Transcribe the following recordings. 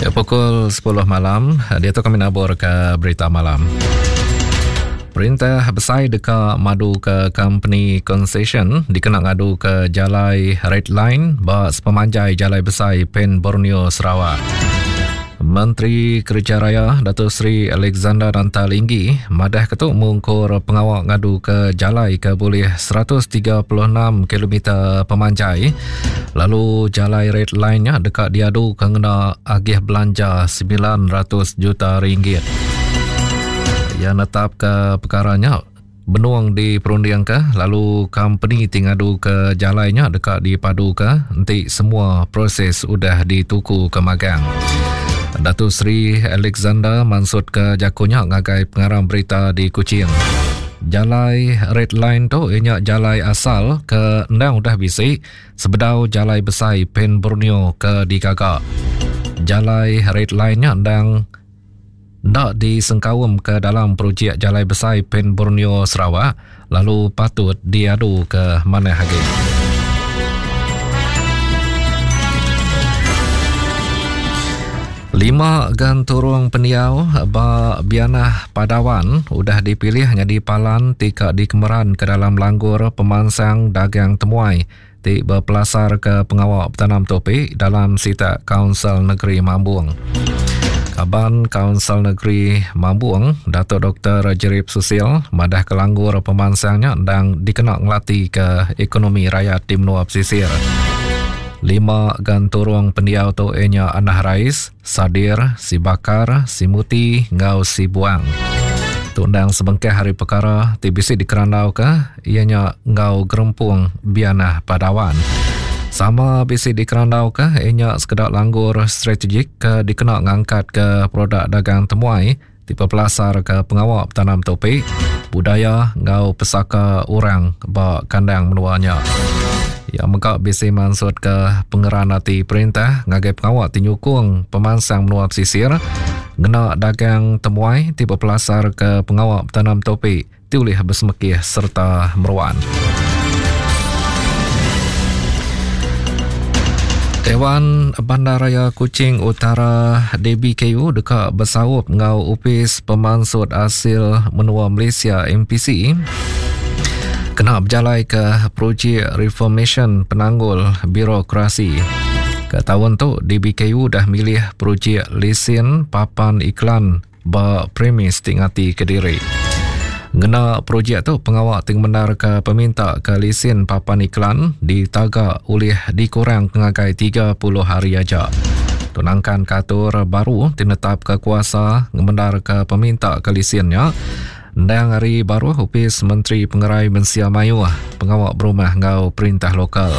Ya, pukul 10 malam, dia tu kami nabur ke berita malam. Perintah besai deka madu ke company concession dikena ngadu ke jalai Red Line ba sepemanjai jalai besai Pen Borneo Sarawak. Menteri Kereja Raya Datuk Seri Alexander Nanta Linggi madah ke tu mungkur pengawa ngadu ke jalai ke bulih 136 km pemanjai lalu jalai red line nya deka diadu ke ngena agih belanja 900 juta ringgit. Ia netap ke perkara nya benung diperundingka lalu kompeni ti ngaduka jalai nya deka dipaduka enti semua proses udah ditukuka magang. Datuk Seri Alexander mansutka jaku nya ngagai pengarang berita di Kuching. Jalai Red Line tu iya nya jalai asal ke endang udah bisi sebedau jalai besai Pan Borneo ke digaga. Jalai Red Line nya endang enda disengkaum ke dalam projek Jalai Besai Pan Borneo Sarawak lalu patut diadu ke manah agi. Lima genturung pendiau ba Bianah Padawan udah dipilih nyadi palan ti ka dikemeran ke dalam langgur pemansang dagang temuai ti bepelasarka pengawa betanam tupi dalam sitak Kaunsil Negeri Mambong. Kaban Kaunsil Negeri Mambong, Datuk Doktor Jerip Susil madahka langgur pemansang nya endang dikena ngelatika ekonomi rayat di menua pesisir. Lima genturung pendiau tu iya nya Anah Rais, Sadir, Sibakar, Simuti enggau Sibuang. Tu endang sebengkah ari pekara ti bisi dikerandauka iya nya enggau gerempung Bianah Padawan. Sama bisi dikerandauka iya nya sekeda langgur strategik ke dikena ngangkatka produk dagang temuai ti bepelasarka pengawa betanam tupi, budaya enggau pesaka orang ba kandang menua nya. Iya mega bisi mansutka pengeran ati perintah ngagai pengawa ti nyukung pemansang menua pesisir ngena dagang temuai ti bepelasarka pengawa betanam tupi ti ulih besemekih sereta meruan. Dewan Bandaraya Kuching Utara DBKU deka besaup enggau Opis Pemansut Asil Menua Malaysia MPC kena bejalaika projek reformasyen penanggul birokrasi. Ke taun tu DBKU udah milih projek lesen papan iklan ba premis ti ngati kediri. Ngena projek tu pengawa ti ngemendarka peminta ke lisin papan iklan ditaga ulih dikurang ngagai 30 hari aja. Tu nangkanka atur baru ti netapka kuasa ngemendarka peminta ke lisin nya endang ari baruh Opis Menteri Pengerai Mensia Mayuh, Pengawa Berumah enggau Perintah Lokal.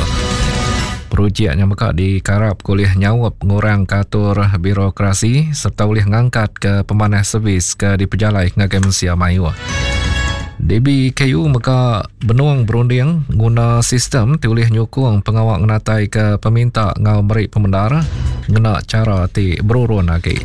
Projek nya mega dikarapka ulih nyaup ngurangka atur birokrasi sereta ulih ngangkatka pemanah servis ke dipejalai ngagai mensia mayuh. DBKU mega benung berunding nguna sistem ti ulih nyukung pengawa ngenataika peminta enggau meri pemendar ngena chara ti berurun agi.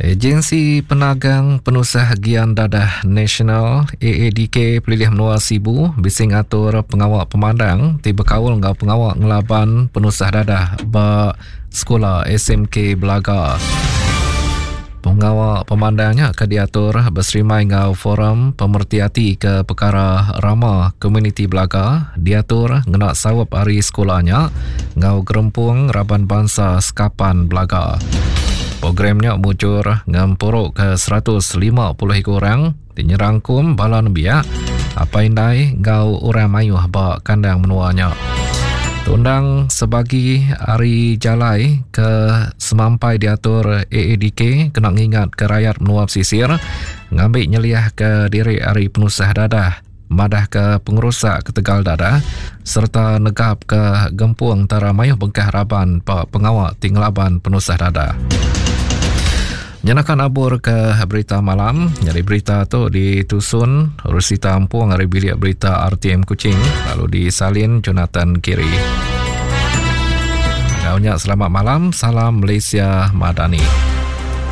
Agensi Penagang Penusah Gian Dadah Nasional, AADK, Pelilih Menua Sibu bisi ngatur pengawa pemandang ti bekaul enggau pengawa ngelaban penusah dadah ba sekula SMK Belaga. Pengawa pemandang nya ke diatur beserimai enggau Forum Pemereti Ati ke Pekara Rama Komuniti Belaga diatur ngena saup ari sekula nya enggau Gerempung Raban Bansa Sekapan Belaga. Program nya mujur ngempuruka 150 iku orang ti nyerangkum bala nembiak, apai indai enggau orang mayuh ba kandang menua nya. Tundang sebagi ari jalai ke semampai diatur AADK kena ngingatka rayat menua pesisir ngambi nyeliahka diri ari penusah dadah madahka pengerusak ketegal dadah sereta negapka gempung entara mayuh bengkah raban ba pengawa ti ngelaban penusah dadah. Nyenaka nabur ke berita malam, nyadi berita tu ditusun Rosita Ampung ari bilik berita RTM Kuching lalu disalin Jonathan Kiri. Enggau nya selamat malam, salam Malaysia Madani.